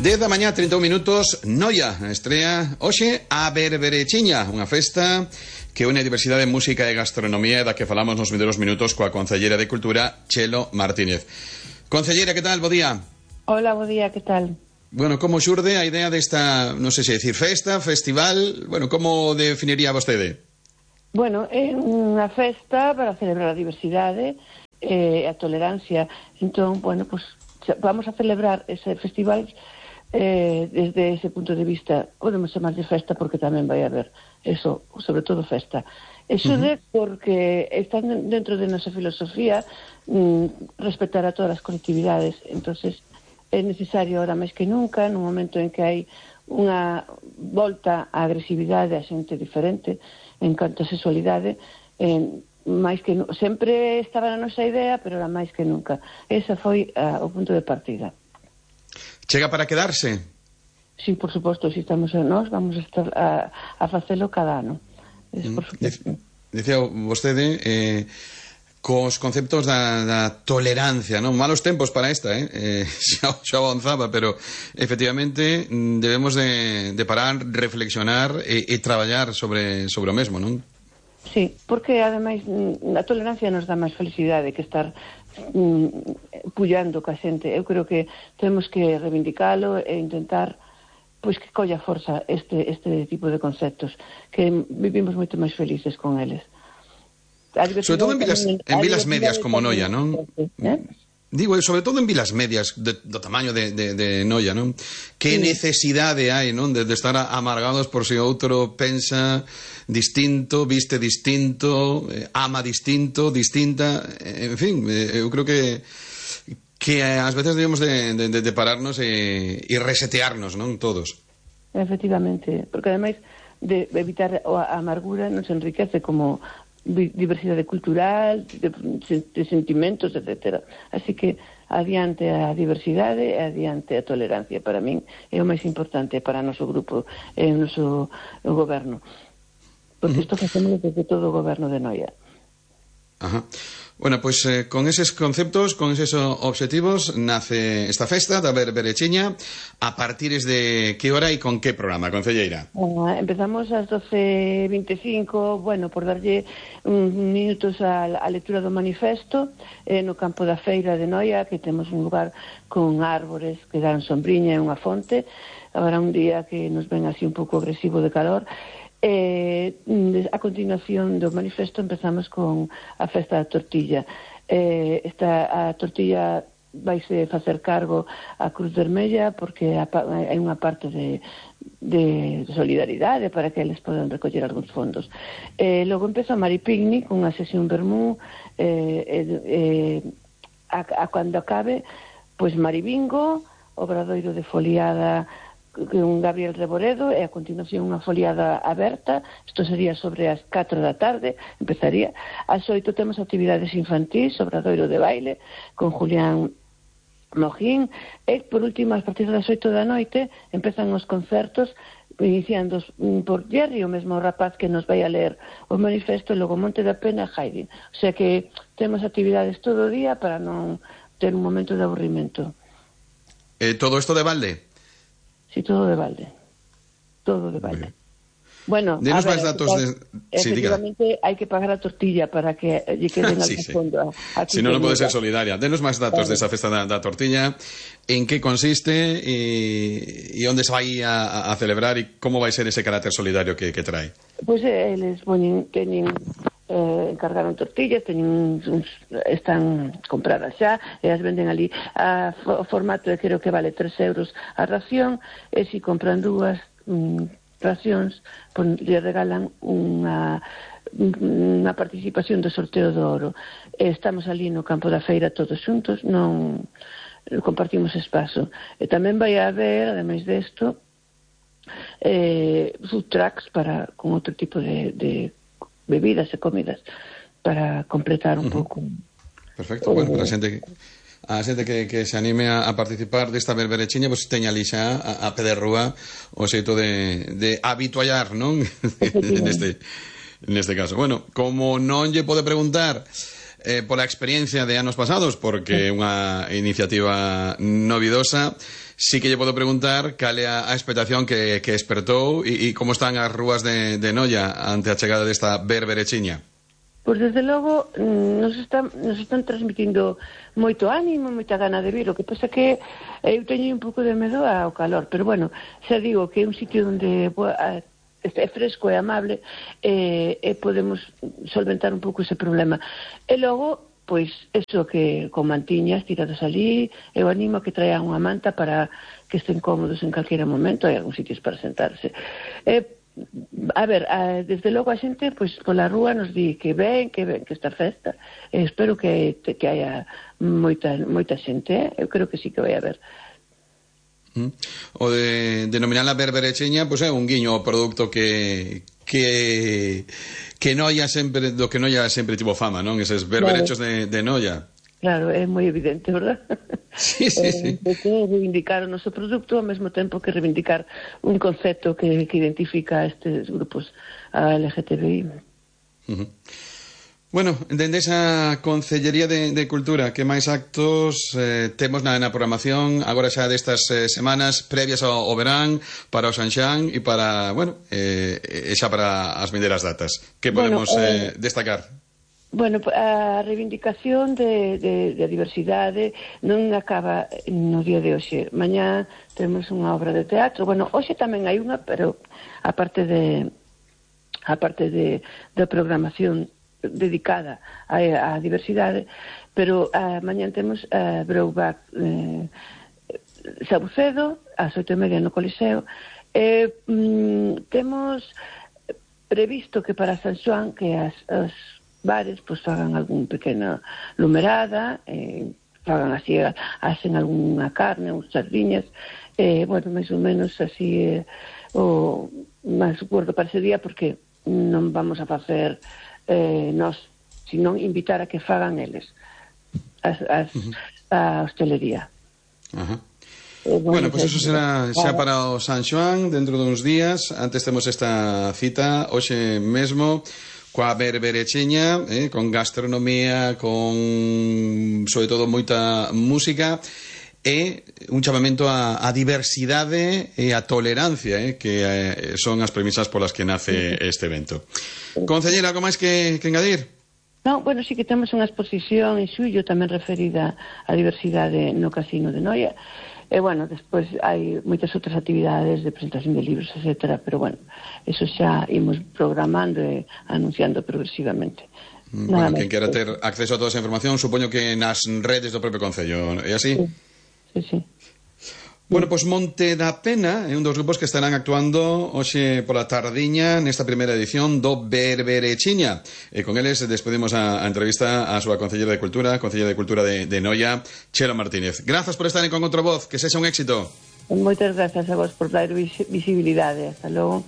10 da mañá, 31 minutos, Noia estrea hoxe a Berberechiña, unha festa que une a diversidade de música e gastronomía da que falamos nos primeiros minutos coa Concelleira de Cultura, Chelo Martínez. Concelleira, que tal? Bo día. Hola, bo día, que tal? Bueno, como xurde a idea desta, non sei se decir festa, festival, bueno, como definiría vostede? Bueno, é unha festa para celebrar a diversidade e a tolerancia. Entón, bueno, pues vamos a celebrar ese festival desde ese punto de vista. Podemos chamar de festa porque tamén vai haber eso, sobre todo festa. Eso porque están dentro de nosa filosofía respetar a todas as colectividades. Entonces é necesario ahora máis que nunca, nun momento en que hai unha volta á agresividade a xente diferente en canto a sexualidade, máis que sempre estaba na nosa idea, pero era máis que nunca. Esa foi o punto de partida. Chega para quedarse? Sí, por suposto, si estamos nós, vamos a estar a facelo cada ano. Por suposto. Dicía vostede cos conceptos da tolerancia, non? Malos tempos para esta, xa avanzaba, pero efectivamente debemos de parar, reflexionar e traballar sobre o mesmo, non? Sí, porque ademais a tolerancia nos dá máis felicidade que estar pullando ca xente. Eu creo que temos que reivindicalo e intentar pois que colla forza este tipo de conceptos, que vivimos moito máis felices con eles. Sobre todo en vilas medias como Noia, non? Digo, sobre todo en vilas medias do tamaño de Noia, non? Que necesidade hai, non? De estar amargados por se outro pensa distinto, viste distinto, ama distinto, distinta, en fin, eu creo que ás veces debemos de pararnos e resetearnos, non? Todos. Efectivamente, porque ademais de evitar a amargura nos enriquece como diversidade cultural, de sentimentos, etcétera. Así que adiante a diversidade e adiante a tolerancia. Para min é o máis importante para o noso grupo e o noso goberno. Porque isto facemos desde todo o goberno de Noia. Ajá. Bueno, pois con eses conceptos, con eses obxectivos nace esta festa da Berberechiña. A partir de que hora e con que programa, concelleira? Empezamos ás 12:25, bueno, por darlle minutos á lectura do manifesto no campo da feira de Noia, que temos un lugar con árbores que dan sombriña e unha fonte. Habrá un día que nos ven así un pouco agresivo de calor. A continuación do manifesto empezamos con a festa da tortilla. A tortilla vaise facer cargo a Cruz Vermella porque hai unha parte de solidaridade para que eles podan recoller algúns fondos. Logo empeza a Maripicnic, unha sesión vermú, cando acabe, pois Maribingo, obradoiro de foliada con Gabriel Reboredo e a continuación unha foliada aberta. Isto sería sobre as 4 da tarde, empezaría. Ás 8 temos actividades infantís, obradoiro de baile con Julián Mojín e por último, a partir das 8 da noite empezan os concertos iniciando por Jerry, o mesmo rapaz que nos vai a ler o manifesto, e logo Monte da Pena e Haydn. O sea que temos actividades todo o día para non ter un momento de aburrimento. Todo isto de balde? Sí, todo de balde. Todo de balde. Bueno, denos máis datos efectivamente hai que pagar a tortilla para que lle queden al fondo. Si non pode ser solidaria. Denos máis datos desa festa da tortilla, en que consiste e onde se vai a celebrar e como vai ser ese carácter solidario que trae. Pois eles teñen encargaron tortillas, están compradas xa e as venden ali o formato de creo que vale 3 euros a ración, e se compran dúas racións lle regalan unha participación do sorteo do oro. Estamos ali no campo da feira todos xuntos, non compartimos espazo, e tamén vai haber, ademais desto, food trucks con outro tipo de bebidas e comidas para completar un pouco. Perfecto, bueno, para a xente que se anime a participar desta Berberechiña, pois teña ali xa a pé de rúa o xeito de habituallar, non? neste caso. Bueno, como non lle pode preguntar pola experiencia de anos pasados, porque é unha iniciativa novidosa, sí que lle podo preguntar cal é a expectación que espertou e como están as rúas de Noia ante a chegada desta berberechiña. Pois desde logo nos están transmitindo moito ánimo, moita gana de vir. O que pasa que eu teño un pouco de medo ao calor, pero bueno, xa digo que é un sitio onde é fresco e amable e podemos solventar un pouco ese problema. E logo, pois, eso que con mantiñas tiradas ali, eu animo a que traian unha manta para que estén cómodos en calquera momento, hai algúns sitios para sentarse. A ver, desde logo a xente, pois, pola rúa nos di que ven que esta festa, espero que haya moita xente, eu creo que sí que vai haber. O de denominar a berberechiña, pois é un guiño ao produto que Noia sempre, do que Noia sempre tivo fama, non? Eses berberechos de Noia. Claro, é moi evidente, verdad? Sí. De que reivindicar o noso produto ao mesmo tempo que reivindicar un concepto que identifica a estes grupos, a LGTBI. Bueno, dende esa Concellería de Cultura, que máis actos temos na programación agora xa destas semanas previas ao verán, para o Sanxán e para, bueno, xa para as vindeiras datas? Que podemos destacar? Bueno, a reivindicación de diversidade non acaba no día de hoxe. Mañá temos unha obra de teatro. Bueno, hoxe tamén hai unha, pero a parte da programación dedicada á diversidade, pero mañá temos Breubac Sabucedo ás 8:30 no Coliseo. Temos previsto que para San Xoán que as bares pues fagan algún pequena lumerada, fagan así, hacen algunha carne, uns sardiñas, bueno, máis ou menos así o máis acordo para ese día, porque non vamos a facer nós, sino invitar a que fagan eles a hostelería. Bueno, pues eso será xa para o San Xoán dentro duns días. Antes temos esta cita hoxe mesmo coa berberechiña, con gastronomía, con sobre todo moita música e un chamamento a diversidade e a tolerancia, que son as premisas polas que nace este evento. Concellera, algo máis que engadir? Non, bueno, sí que temos unha exposición en xullo tamén referida á diversidade no Casino de Noia. E, bueno, despois hai moitas outras actividades de presentación de libros, etcétera, pero, bueno, eso xa imos programando e anunciando progresivamente. Bueno, quen quera ter acceso a toda esa información, supoño que nas redes do propio Concello, é así? Sí. Bueno, pois Monte da Pena é un dos grupos que estarán actuando hoxe pola tardiña nesta primeira edición do Berberechiña. E con eles despedimos a entrevista á súa Concelleira de Cultura de Noia, Chelo Martínez. Grazas por estar en Con Outra Voz, que sexa un éxito. Moitas grazas a vos por dar visibilidade. Hasta logo.